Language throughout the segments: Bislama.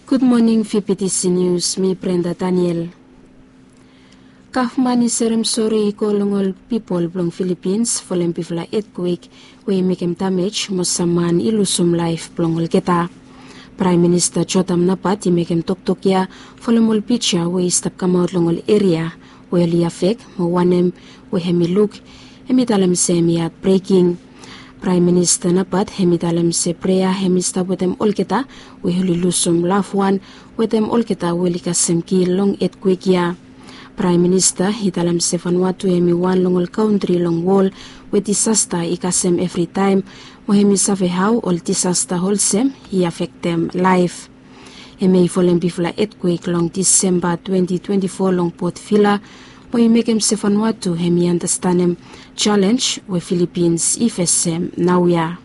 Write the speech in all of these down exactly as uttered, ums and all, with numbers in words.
Gud moning, V P T C News, mi Brenda Daniel. Gavman i serem sori i go long ol pipol blong Filipins folem bigfala etkwek we i mekem damej mo sam man i lusum laef blong olgeta. Praem Minista Jotam Napat i mekem toktok ya folem ol pija we i stap kamaot long ol eria we oli afek mo wanem we hem i luk, hem i talem se hem i hatbreking. Praem Minista Napat hem i talem se prea hem i stap wetem olgeta we oli lusum lafwan wetem olgeta we oli kasem kil long etkwek ya. Praem Minista i talem se Vanuatu hem i wan long ol kantri long wol we disasta i kasem evritaem, mo hem i save hao ol disasta olsem i afektem laef. Hem i folem bigfala etkwek long Disemba twenti twenti fo long Port Vila, mo i mekem se Vanuatu hem i andastanem jalenj we Filipins i fesem naoia.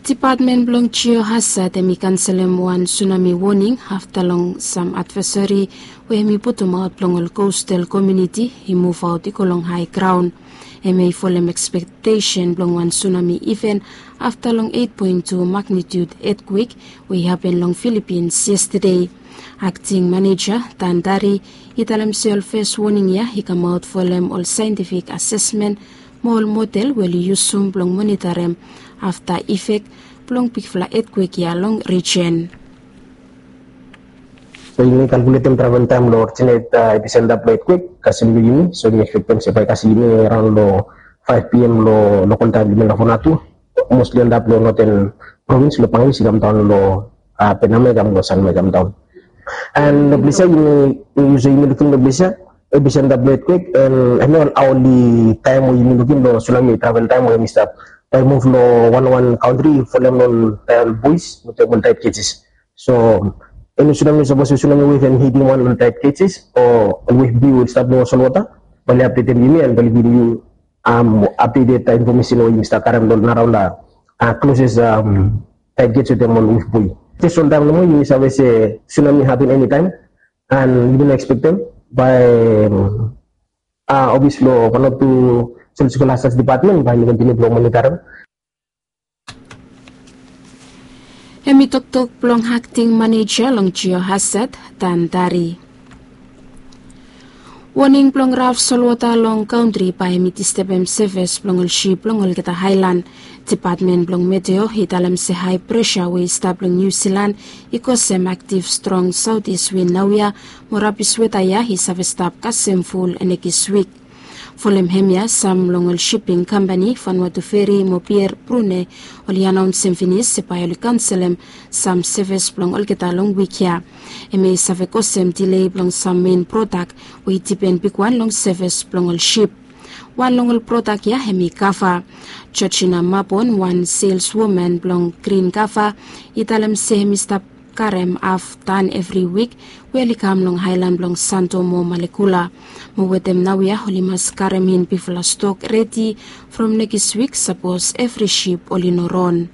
Dipatmen blong Jio Hazard hem i kanselem wan sunami woning afta long sam advaesari we hem i putumaot blong ol kostal komuniti i muvaot i go long hae graon. Hem i folem ekspektesen blong wan sunami iven afta long eit poen tu magnitiud etkwek we i hapen long Filipins yestade. Akting maneja Dan Dari i talem se ol fes woning ya i kamaot folem ol saentifik asesmen mo ol model we oli yusum blong monitarem afta ifek blong bigfala etkwek ya long rijen. So yumi kalkuletem travel taem long orijinet episenta blong etkwek kasem long yumi, so yumi ekspektem se bae i kasem long yumi araon long faef P M long lokol taem long yumi long Vanuatu, mostli antap long noten provins long Bangladesh i kamdaon long Penama i kam long Sanma i kamdaon. And long ples ya yumi, so yumi lukim long ples ya episenta blong etkwek, and hemia ol aoli taem we yumi lukim long sunami travel taem we hem i stap bae i muv long wanwan kantri folem long ol tael bois wetem ol taet kejis. So eni sunami, sapos ol sunami wef hem i hitim wan ol taet kejis o ol wef big we i stap long ol solwota, bae oli apdetem yumi and bae oli givim yu apdeted infomesen we yumi stap karem long naraon long kloses taet kejis wetem ol wef boi. Jes wan taem nomo yumi save se sunami hapen enitaem, and yumi no ekspektem bae ofis blong Vanuatu Geological Hazards Department bae hem i kontiniu blong monitarem. Hem i toktok blong akting maneja long Jio Hazard, Dan Dari. Woning blong raf solwota long kantri bae hem i distebem sevis blong ol sip long olgeta aelan. Dipatmen blong Meteo i talem se hae presa we i stap long Niu Silan i kosem aktiv strong saotis win naoia mo rabis weta ya i save stap kasem ful nekis wik. Folem hemia sam long ol siping kampani Vanuatu Ferry mo Pier Brune oli anaonsem finis se bae oli kanselem sam sevis blong olgeta long wik ya. Hemia i save kosem dilei blong sam mein prodak we i dipen bigwan long sevis blong ol sip. Wan long ol prodak ya hem i kava. Georgina Mabon, wan selswoman blong Green Kava, i talem se hem i stap karem haf tan evri wik we oli kam long aelan blong Santo mo Malekula. Mo wetem naoia oli mas karem in bigfala stok redi from nekis wik sapos evri sip oli no ron.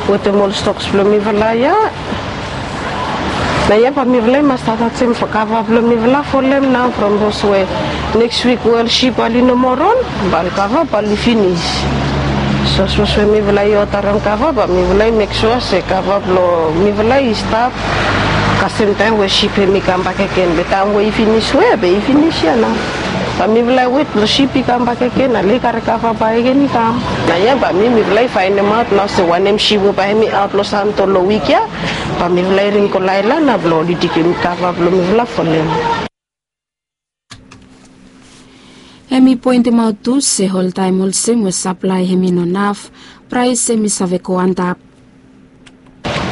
Wetem ol stoks blong mifala ya, naoia bae mifala i mas stap atem kava blong mifala folem nao from sapos we neks wik we ol sip bae oli no moa ron, bae ol kava bae oli finis. So sapos we mifala i odarem kava bae mifala i mek sua se kava blong mifala i stap kasem taem we sip hem i kambak gen, be taem we i finis we be i finis ya nao. Bae mifala i wet blong sip i kambak gen, ale i karem kava bakegen i kam. Naoia bae mi, mifala i faenemaot nao se wanem sip we bae hem i aot long Santo long wik ya, bae mifala i ring go long aelan nao blong oli tekem kava blong mifala folem. Hem i poentemaot tu se oltaem olsem we saplae hem i no naf, praes hem i save go antap.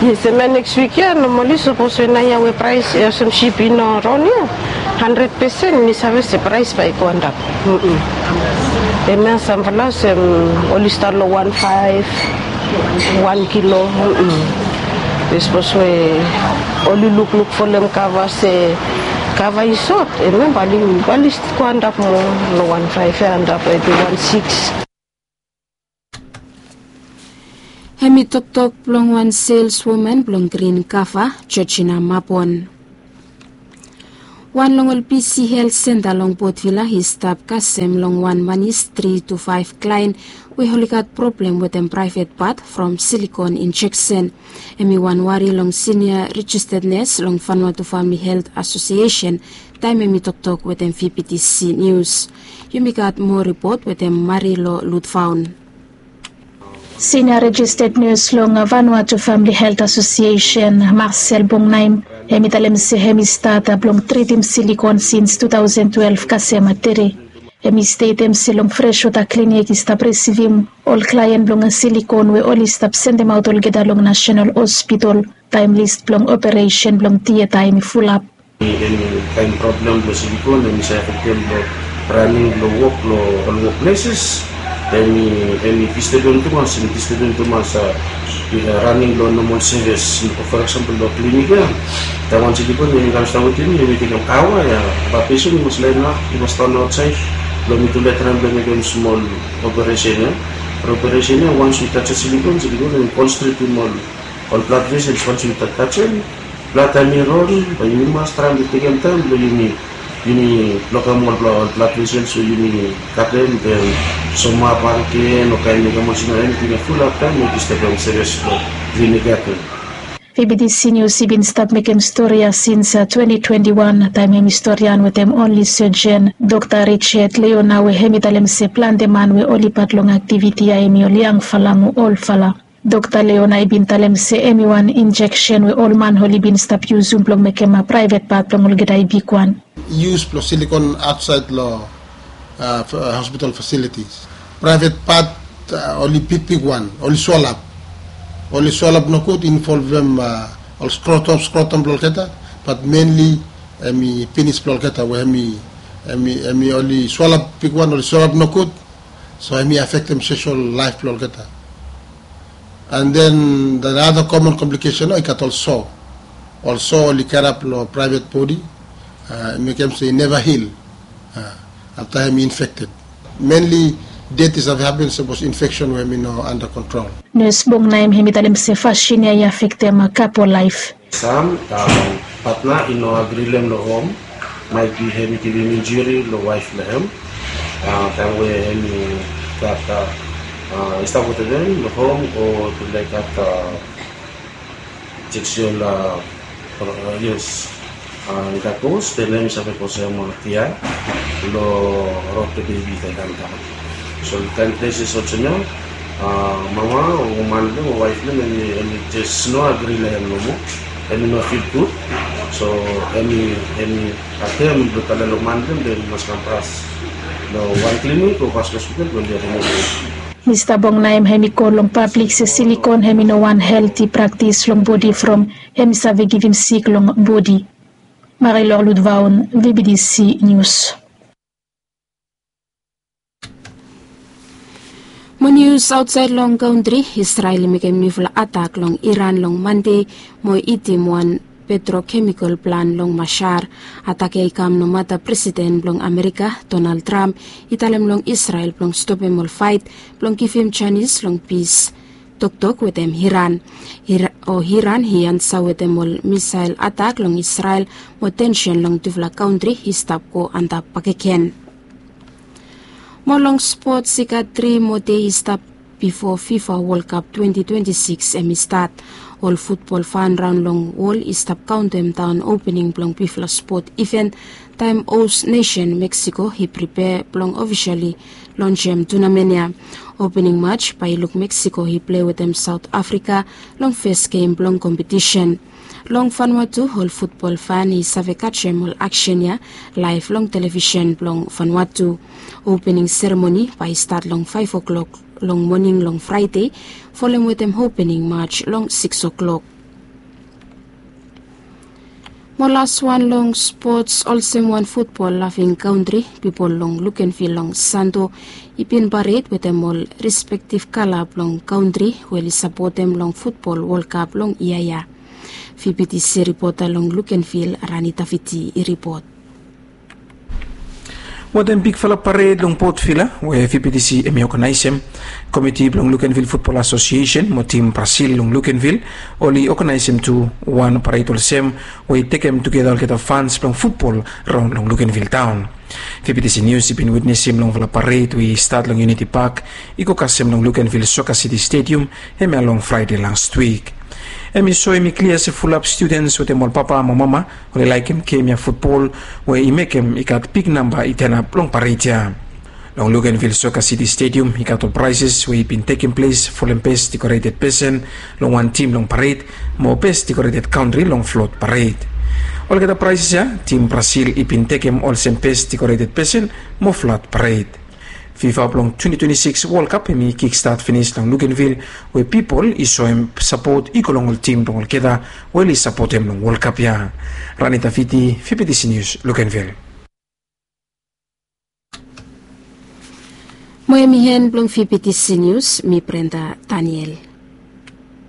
Yes, hemia neks wik ya nomali sapos we naoia we praes olsem sip i no ron ya, handred pesen mi save se praes bae i go antap. Hemia samfala olsem oli stat long wan faef, wan kilo. Sapos we oli lukluk folem kava se kava i sot, hemia bae oli go antap moa long wan faef ya antap epi wan sikis. Hem i toktok blong wan selswoman blong Green Kava, Georgina Mabon. Wan long ol bisi helt senta long Port Vila i stap kasem long wan manis tri tu faef klaen we oli gat problem wetem praevet pat from silikon injeksen. Hem i wan wari long sinia rejisted nes long Vanuatu Famili Helt Asosiesen taem hem i toktok wetem V B T C Nius. Yumi gat moa ripot wetem Marilo Lutfaun. Sinia rejisted nes long Vanuatu Famili Helt Asosiesen, Marcel Bongnaim, hem i talem se hem i stat blong tritim silikon sins tu taosen twelef kasem tere. Hem i stetem se long freswota klinik i stap risivim ol klaen blong silikon we oli stap sendemaot olgeta long Nasenal Hospitol taem lis blong operesen blong tieta hem i fulap. Eni kaen problem blong silikon hem i save afektem long raning blong wok long ol wokpleses. Hem i disturbem tumas, hem i disturbem tumas raning blong nomol sevis. For eksempel long klinik ya, taem wan silikon hem i kam stap wetem mi, hem i tekem aoa ya. Bae pesen i mas laenap, i mas tan aotsaed blong mi tu lae traem blong mekem smol operesen ya. Operesen ya, wans yu tajem silikon, silikon hem i konstrikim ol ol blad vesels. Wans yu tajem, blad hem i ron, bae yumi mas traem blong tekem taem blong yumi, yumi blokem ol blad vesels we yumi gatem, den somap agen o kaen mekem olsem eniting ya fulap taem we i stap long sevis blong klinik ya tu. V B T C Nius i bin stap mekem stori ya sins twenti twenti wan taem hem i storian wetem onli sejen, Dokta Richard Leona, we hem i talem se plante man we oli pat long aktiviti ya hem i ol yangfala mo olfala. Dokta Leona i bin talem se hem i wan injeksen we ol man oli bin stap yusum blong mekem praevet pat blong olgeta i bigwan. Yus blong silikon aotsaed long hospital fasilitis. Praevet pat oli bigbigwan, oli swalap. Oli swalap nogud, involvem ol skrotom, skrotom blong olgeta, bat menli hem i pinis blong olgeta we hem i, hem i, hem i oli swalap bigwan, oli swalap nogud. So hem i afektem soshal laef blong olgeta. And then the other common complication, i gat ol so. Ol so oli karap long praevet bodi, i mekem se i neva hil afta hem i infekted. Menli det i save hapen sapos infeksen we hem i no anda kontrol. Nes Bongnaim hem i talem se fasin ya i afektem kapo laef. Sam, patna i no agri long hem long hom, maet bi hem i givim injuri long waef blong hem taem we hem i gat, i stap wetem hem long hom o i laek gat seksual, yes, i gat pos, den hem i save kosem tia long rod blong bebi i kam daon. So long kaen pleses olsem ya, mama o man blong hem o waef blong hem hem i jes no agri long hem nomo. Hem i no fil gud. So hem i, hem i atem blong tale long man blong hem i mas kam fas long wan klinik o fas hospital blong oli rimuvum. Mista Bongnaim hem i go long pablik se silikon hem i no wan helti praktis long bodi from hem i save givim sik long bodi. Marilor Ludvaon, V B T C Nius. Mo nius aotsaed long kantri, Israel i mekem niufala atak long Iran long Mande mo i itim wan petrokemikol plan long Mashhad. Atak ya i kam nomata Presiden blong Amerika, Donald Trump, i talem long Israel blong stopem ol faet blong givim janis long pis toktok wetem Iran. O Iran i ansa wetem ol misael atak long Israel mo tensen long tufala kantri i stap go antap bakegen. Mo long spots, i gat tri moa dei i stap bifo FIFA World Cup twenti twenti sikis hem i stat. Ol futbol fan raon long wol i stap kaontem daon opening blong bigfala spot iven taem hos nesen Meksiko i pripea blong ofisali lonsem tunamen ya. Opening maj bae i luk Meksiko i plei wetem Saot Afrika long fes gem blong kompetisen. Long Vanuatu ol futbol fan i save kajem ol aksen ya laef long televisen blong Vanuatu. Opening seremoni bae i stat long faef oklok long moning long Fraede, folem wetem opening maj long sikis oklok. Mo laswan long spots, olsem wan futbol lafing kantri, pipol long Lukenvil long Santo i bin pared wetem ol respektif kala blong kantri we oli sapotem long futbol Wol Kap long yia ya. V B T C ripota long Lukenvil, Rani Tafiti i ripot. Wetem bigfala pared long Port Vila we V P T C hem i oganaesem, komiti blong Lukenvil Futbol Asosiesen mo tim Brasil long Lukenvil oli oganaesem tu wan pared olsem we i tekem tugeta olgeta fans blong futbol raon long Lukenvil taon. V P T C Nius i bin witnesem longfala pared we i stat long Uniti Pak i go kasem long Lukenvil Soka Siti Stedium hemia long Fraede lastwik. Hem i soem i klia se fulap studens wetem ol papa mo mama oli laekem gem ya futbol we i mekem i gat big namba i tenap long pared ya. Long Lukenvil Soka Siti Stedium i gat ol praeses we i bin tekem ples folem bes dekoreted pesen long wan tim long pared mo bes dekoreted kantri long flot pared. Olgeta praeses ya tim Brasil i bin tekem olsem bes dekoreted pesen mo flot pared. Fifa blong twenti twenti sikis Wol Kap hem i kikstat finis long Lukenvil we pipol i soem sapot i go long ol tim blong olgeta we oli sapotem long Wol Kap ya. Ranita Fiti, V P T C Nius, Lukenvil. Mo hem i hen blong V P T C Nius, mi Brenda Daniel.